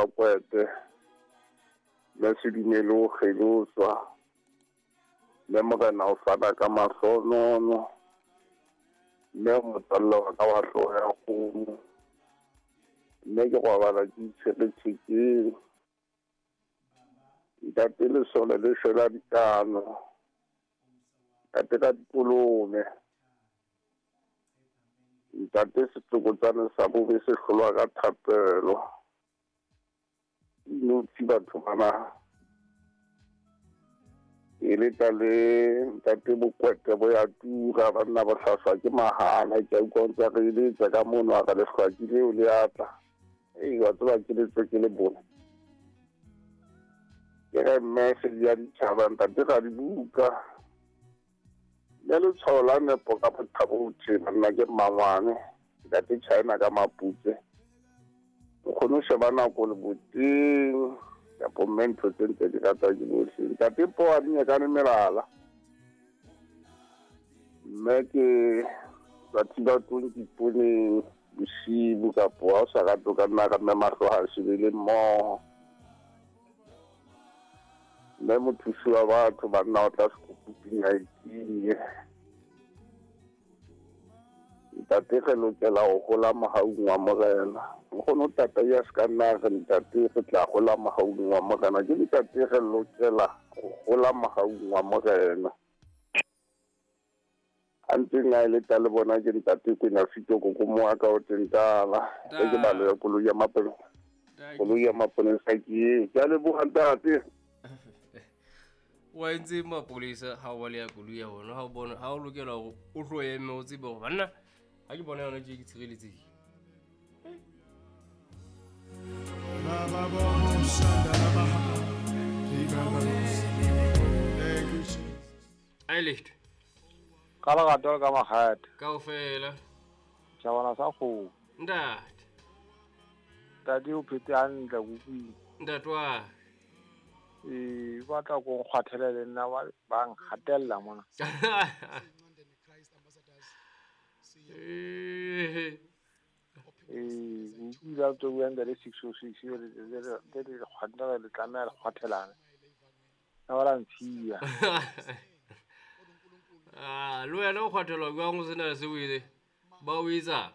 wa Kwete, Mme Sedumele o kgeloswa, Mme Morena o fana ka mahlonono, Mme motswalle wa ka wa hloho ya kgomo, Mme ke robala ke itshwere thekeng. Ntate Lesole le shwela dikano, Ntate ka dikolome. Ntate setsokotsane sa bobe se hlolwa ka thapelo. Inotshi batho bana. E leta le ntate Bokwete bo ya tura banna bo hlaswa ke mahala ke a utlwa o ntse re eletsa ka mono a re lehlwaki leo le atla. Ei wa tseba ke letswe ke le bone. Ke re mme sedi ya ditjhaba ntate ra dibuka. Mme letshwao la nepo ka bothabothe banna ke mmangwane ntate China ka maputse. O kgone ho sheba nako leboteng kapo mme ntho tse ntse di ratwa ke bohle. Ntate po a di nyakane melala. Mme ke batho ba tong diponeng bosibu kapo ha o sa rate o ka nna ka mme mahlo ha shebele mmoho. Mme mothusi wa batho banna o tla sekopoping a itinye. Ntate re lokela ho hola mohaung wa Morena. Nkgono tata ya se ka nna re ntate re tla hola mohaung wa Morena. Ke ntate re lokela ho hola mohaung wa Morena. A ntseng a eleta le bona ke ntate Kwena Fito koko mo ka o tentala. E ke balo ya koloi ya mapolesa. Koloi ya mapolesa ke eo. Ke a leboha ntate. Wa entse mapolesa ha o ba le ya koloi ya bona ha o bona ha o lokela hore o tlo eme o tsebe hore banna ha ke bona yona tje ke tshireletsehile. Ai lehto. Ka lerato le ka makgethe. Kaofela. Tjhabana sa kgomo. Ntate. Ntate o phetse hantle ke utlwile. Ntate wa. Ee, ba tla ko nkgwathele le nna ba nkgatella mona. Ee, ke utlwile ha tso bua ntate 606 le le le tlameha le kgwathelane. Ka ba la ntshiya. Ah, le wena o kgwathelwa jwang o sena se o etse? Ba o etsa?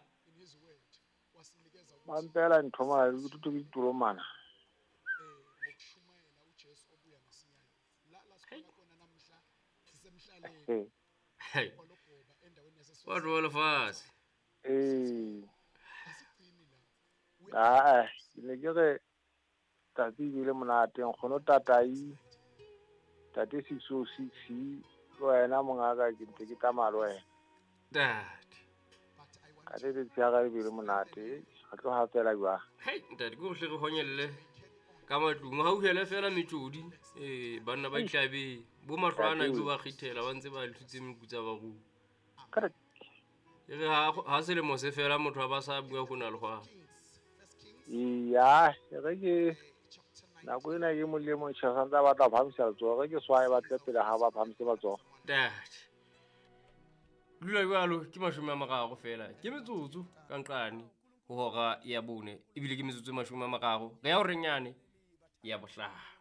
Ba mpela ntho mane, ke thuto ke ditolomana. Hey. Batho ba lefatshe. Ee. Aa, ke ne ke re tsatsi e bile monate nkgono tatai tate 606 le wena mongaka ke ntse ke tsamaya le wena. Ntate. Ka le letsatsi ya ka le bile monate re tlo hafela jwang. Hei ntate ke gohle re honyelle ka matlung ha uhele fela metsodi ee banna ba itlabeng bo mahlo ana ebile ba kgethela ba ntse ba thutse mekutsa barui. E re ha selemo se fela motho a ba sa bua go na le gwa. Iya, re ke nako ena ke mong le mong tjhe santse a batla ho phahamisa letsoho, re ke swae ba tle pele ha ba phahamise matsoho. Ntate. Dula jwalo ke 30 fela ke metsotso ka nqane ho hora ya bone ebile ke metsotso e 30 re ya ho renyane ya bohlano.